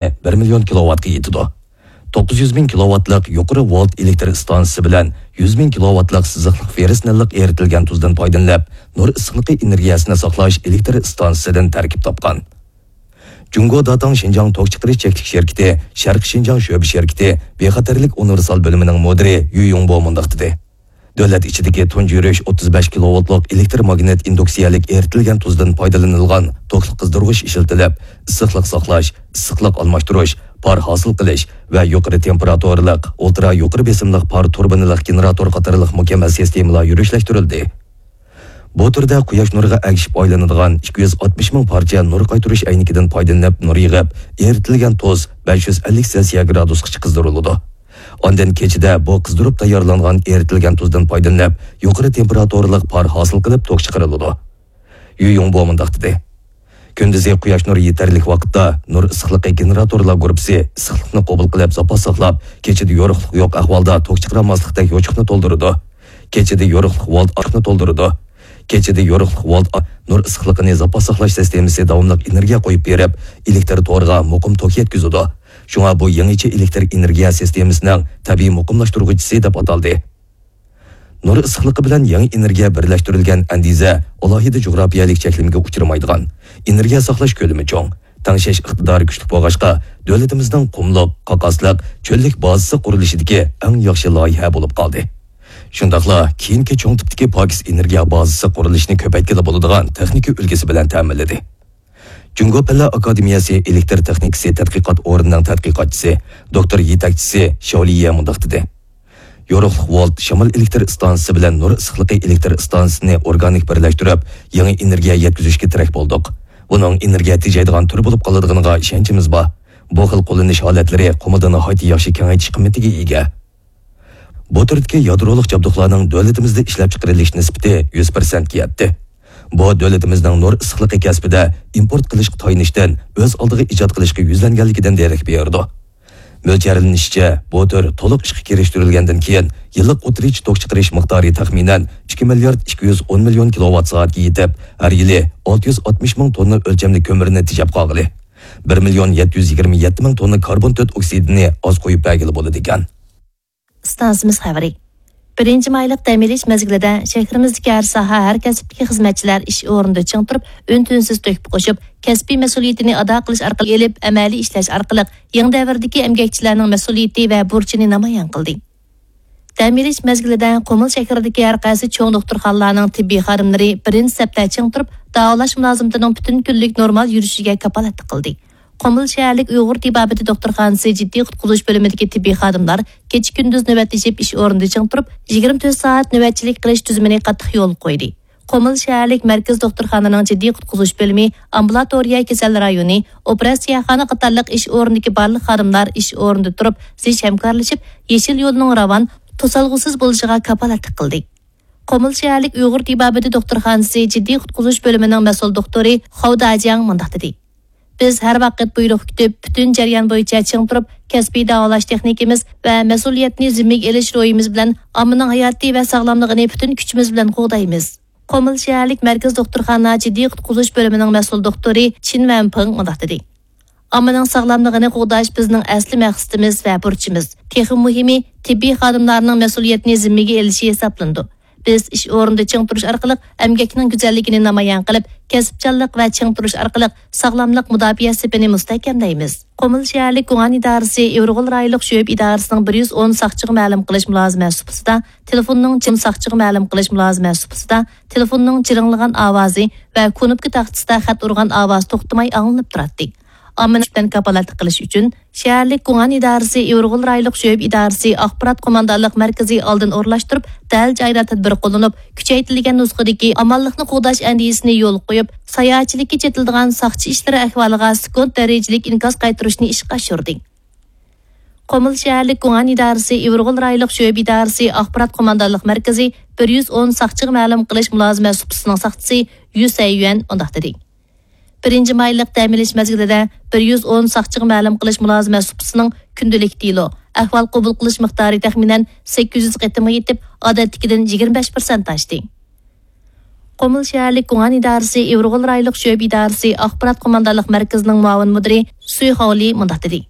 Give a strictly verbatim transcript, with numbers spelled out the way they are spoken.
بىر مىليون كىلوۋاتقا يېتىدۇ. توققۇز يۈز مىڭ كىلوۋاتلىق يۇقىرى ۋولت ئېلېكتر ئىستانسىسى بىلەن يۈز مىڭ كىلوۋاتلىق سىزىقلىق فېررس نىللىق ئېرىتىلگەن تۇزدىن پايدىلىنىپ، نۇر ئىسسىقلىقى ئېنېرگىيەسىنى ساقلاش ئېلېكتر ئىستانسىسىدىن تەركىب تاپقان. جۇڭگو داتاڭ شىنجاڭ توك چىقىرىش چەكلىك شىركىتى شەرقىي شىنجاڭ شۆبە شىركىتى بىخەتەرلىك ئۇنىۋېرسال بۆلۈمىنىڭ مۇدىرى يۈ يۇڭبو مۇنداق دېدى: دۆلەت ئىچىدىكى تۇنجى يۈرۈش ئوتتۇز بەش كىلوۋولتلۇق ئېلېكتر ماگنىت ئىندۇكسىيەلىك ئېرىتىلگەن تۇزدىن پايدىلىنىلغان توكلۇق قىزدۇرغۇچ ئىشلىتىلىپ، ئىسسىقلىق ساقلاش، ئىسسىقلىق ئالماشتۇرۇش، پار ھاسىل قىلىش ۋە يۇقىرى تېمپېراتۇرىلىق، ئولترا يۇقىرى بېسىملىق پار تۇربىنىلىق گېنېراتور قاتارلىق مۇكەممەل سىستېمىلار يۈرۈشلەشتۈرۈلدى. بۇ تۈردە قۇياش نۇرىغا ئەگىشىپ ئايلىنىدىغان ئىككى يۈز ئاتمىش مىڭ پارچە نۇر قايتۇرۇش ئەينىكىدىن پايدىلىنىپ نۇر يىغىپ، ئېرىتىلگەن تۇز بەش يۈز ئەللىك سېلسىيە گرادۇسقىچە قىزدۇرۇلىدۇ. ئاندىن كېچىدە بۇ قىزدۇرۇپ تەييارلانغان ئېرىتىلگەن تۇزدىن پايدىلىنىپ، يۇقىرى تېمپېراتۇرىلىق پار ھاسىل قىلىپ توك چىقىرىلىدۇ. يۈ يۇڭبو مۇنداق دېدى: كۈندۈزى قۇياش نۇرى يېتەرلىك ۋاقىتتا نۇر ئىسسىقلىقى گېنېراتورلار گۇرۇپپىسى ئىسسىقلىقنى قوبۇل قىلىپ، زاپاس ساقلاپ، كېچىدە يورۇقلۇق يوق ئەھۋالدا توك چىقىرالماسلىقتەك يوچۇقنى تولدۇرىدۇ. كېچىدە يورۇقلۇق ۋولت ئاشنى تولدۇرىدۇ. كېچىدە يورۇقلۇق ۋولت ئا-، نۇر ئىسسىقلىقىنى زاپاس ساقلاش سىستېمىسى داۋاملىق ئېنېرگىيە قويۇپ بېرىپ، ئېلېكتر تورىغا مۇقىم توك يەتكۈزىدۇ. شۇڭا بۇ يېڭىچە ئېلېكتر ئېنېرگىيە سىستېمىسىنىڭ تەبىئىي مۇقىملاشتۇرغۇچىسى دەپ ئاتالدى. نۇر ئىسسىقلىقى بىلەن يېڭى ئېنېرگىيە بىرلەشتۈرۈلگەن ئەندىزە ئالاھىدە جۇغراپىيەلىك چەكلىمىگە ئۇچرىمايدىغان، ئېنېرگىيە ساقلاش كۆلىمى چوڭ، تەڭشەش ئىقتىدارى كۈچلۈك بولغاچقا، دۆلىتىمىزنىڭ قۇملۇق، قاقاسلىق، چۆللۈك بازىسى قۇرۇلۇشىدىكى ئەڭ ياخشى لايىھە بولۇپ قالدى. شۇنداقلا كېيىنكى چوڭ تىپتىكى پاكىز ئېنېرگىيە بازىسى قۇرۇلۇشىنى كۆپەيتكىلى بولىدىغان تېخنىكا ئۈلگىسى بىلەن تەمىنلىدى. جۇڭگو پەنلەر ئاكادېمىيەسى ئېلېكتر تېخنىكىسى تەتقىقات ئورنىنىڭ تەتقىقاتچىسى، دوكتور يېتەكچىسى شياۋ لىيە مۇنداق دېدى: يورۇقلۇق ۋولت شامال ئېلېكتر ئىستانسىسى بىلەن نۇر ئىسسىقلىقى ئېلېكتر ئىستانسىسىنى ئورگانىك بىرلەشتۈرۈپ، يېڭى ئېنېرگىيە يەتكۈزۈشكە تىرەك بولدۇق. بۇنىڭ ئېنېرگىيە تېجەيدىغان تۈر بولۇپ قالىدىغىنىغا ئىشەنچىمىز بار. بۇ خىل قوللىنىش ھالەتلىرى قۇمۇلدا ناھايىتى ياخشى كېڭەيتىش قىممىتىگە ئىگە. بۇ تۈردىكى يادرولۇق جابدۇقلارنىڭ دۆلىتىمىزدە ئىشلەپچىقىرىلىش نىسبىتى يۈز پىرسەنتكە يەتتى. بۇ دۆلىتىمىزنىڭ نۇر ئىسسىقلىقى كەسپىدە ئىمپورت قىلىشقا تايىنىشتىن ئۆز ئالدىغا ئىجاد قىلىشقا يۈزلەنگەنلىكىدىن دېرەك بېرىدۇ. مۆلچەرلىنىشىچە، بۇ تۈر تولۇق ئىشقا كىرىشتۈرۈلگەندىن كېيىن، يىللىق ئوتتۇرىچە توك چىقىرىش مىقدارى تەخمىنەن ئىككى مىليارد ئىككى يۈز ئون مىليون كىلوۋات سائەتكە يېتىپ، ھەر يىلى ئالتە يۈز ئاتمىش مىڭ توننا ئۆلچەملىك كۆمۈرنى تېجەپ قالغىلى، بىر مىليون يەتتە يۈز يىگىرمە يەتتە مىڭ توننا كاربون تۆت ئوكسىدىنى ئاز قويۇپ بەرگىلى بولىدىكەن. ئىستانسىمىز خەۋىرى. بىرىنچى مايلىق دەم ئېلىش مەزگىلىدە شەھىرىمىزدىكى ھەر ساھە، ھەر كەسىپتىكى خىزمەتچىلەر ئىش ئورنىدا چىڭ تۇرۇپ، ئۈن-تىنسىز تۆھپە قوشۇپ، كەسپىي مەسئۇلىيىتىنى ئادا قىلىش ئارقىلىق ئېلىپ، ئەمەلىي ئىشلەش ئارقىلىق يېڭى دەۋردىكى ئەمگەكچىلەرنىڭ مەسئۇلىيىتى ۋە بۇرچىنى نامايان قىلدى. دەم ئېلىش مەزگىلىدە قۇمۇل شەھىرىدىكى ھەر قايسى چوڭ دوختۇرخانىلارنىڭ تېببىي خادىملىرى بىرىنچى سەپتە چىڭ تۇرۇپ، داۋالاش مۇلازىمىتىنىڭ پۈتۈن كۈنلۈك نورمال يۈرۈشىگە كاپالەتلىك قىلدى. قۇمۇل شەھەرلىك ئۇيغۇر تېبابىتى دوختۇرخانىسى جىددىي قۇتقۇزۇش بۆلۈمىدىكى تېببىي خادىملار كېچە-كۈندۈز نۆۋەتلىشىپ ئىش ئورنىدا چىڭ تۇرۇپ، يىگىرمە تۆت سائەت نۆۋەتچىلىك قىلىش تۈزۈمىنى قاتتىق يولغا قويدى. قۇمۇل شەھەرلىك مەركىزىي دوختۇرخانىنىڭ جىددىي قۇتقۇزۇش بۆلۈمى، ئامبۇلاتورىيە كېسەل رايونى، ئوپېراتسىيەخانا قاتارلىق ئىش ئورنىدىكى بارلىق خادىملار ئىش ئورنىدا تۇرۇپ، زىچ ھەمكارلىشىپ، يېشىل يولنىڭ راۋان، توسالغۇسىز بولۇشىغا كاپالەتلىك قىلدى. قۇمۇل شەھەرلىك ئۇيغۇر تېبابىتى دوختۇرخانىسى جىددىي قۇتقۇزۇش بۆلۈمىنىڭ مەسئۇل دوختۇرى خاۋ داجياڭ مۇنداق دېدى: بىز ھەر ۋاقىت بۇيرۇق كۈتۈپ، پۈتۈن جەريان بويىچە چىڭ تۇرۇپ، كەسپىي داۋالاش تېخنىكىمىز ۋە مەسئۇلىيەتنى زىممىگە ئېلىش روھىمىز بىلەن ئاممىنىڭ ھاياتى ۋە ساغلاملىقىنى پۈتۈن كۈچىمىز بىلەن قوغدايمىز. قۇمۇل شەھەرلىك مەركىزىي دوختۇرخانا جىددىي قۇتقۇزۇش بۆلۈمىنىڭ مەسئۇل دوختۇرى چىن ۋەنپىڭ مۇنداق دېدى: ئاممىنىڭ ساغلاملىقىنى قوغداش بىزنىڭ ئەسلى مەقسىتىمىز ۋە بۇرچىمىز. تېخىمۇ مۇھىمى، تېببىي خادىملارنىڭ مەسئۇلىيەتنى زىممىگە ئېلىشى ھېسابلىنىدۇ. بىز ئىش ئورنىدا چىڭ تۇرۇش ئارقىلىق ئەمگەكنىڭ گۈزەللىكىنى نامايان قىلىپ، كەسىپچانلىق ۋە چىڭ تۇرۇش ئارقىلىق ساغلاملىق مۇداپىئە سېپىنى مۇستەھكەملەيمىز. قۇمۇل شەھەرلىك گۇڭئەن ئىدارىسى ئىۋىرغول رايونلۇق شۆبە ئىدارىسىنىڭ بىر يۈز ئون ساقچىغا مەلۇم قىلىش مۇلازىمەت سۇپىسىدا تېلېفوننىڭ جىڭ ساقچىغا مەلۇم قىلىش مۇلازىمەت سۇپىسىدا تېلېفوننىڭ جىرىڭلىغان ئاۋازى ۋە كۇنۇپكا تاختىسىدا خەت ئۇرغان ئاۋاز توختىماي ئاڭلىنىپ تۇراتتى. ئاممىنى بىلەن كاپالەتلىك قىلىش ئۈچۈن، شەھەرلىك گۇڭئەن ئىدارىسى ئىۋىرغول رايونلۇق شۆبە ئىدارىسى ئاخبارات قوماندانلىق مەركىزى ئالدىن ئورۇنلاشتۇرۇپ، دەل جايىدا تەدبىر قوللىنىپ، كۈچەيتىلگەن نۇسخىدىكى ئامانلىقنى قوغداش ئەندىزىسىنى يولغا قويۇپ، ساياھەتچىلىككە چېتىلىدىغان ساقچى ئىشلىرى ئەھۋالىغا سېكۇنت دەرىجىلىك ئىنكاس قايتۇرۇشنى ئىشقا ئاشۇردى. قۇمۇل شەھەرلىك گۇڭئەن ئىدارىسى ئىۋىرغول رايونلۇق شۆبە ئىدارىسى ئاخبارات قوماندانلىق مەركىزى بىر يۈز ئون ساقچىغا مەلۇم قىلىش مۇلازىمەت سۇپىسىنىڭ ساقچىسى يۈ سەييۈەن مۇنداق دېدى: بىرىنچى مايلىق دەم ئېلىش مەزگىلىدە بىر يۈز ئون ساقچىغا مەلۇم قىلىش مۇلازىمەت سۇپىسىنىڭ كۈندىلىك دېلو، ئەھۋال قوبۇل قىلىش مىقدارى تەخمىنەن سەككىز يۈز قېتىمغا يېتىپ، ئادەتتىكىدىن يىگىرمە بەش پىرسەنت ئاشتى. قۇمۇل شەھەرلىك گۇڭئەن ئىدارىسى ئىۋىرغول رايونلۇق شۆبە ئىدارىسى ئاخبارات قوماندانلىق مەركىزىنىڭ مۇئاۋىن مۇدىرى سۈي خاۋلى مۇنداق دېدى.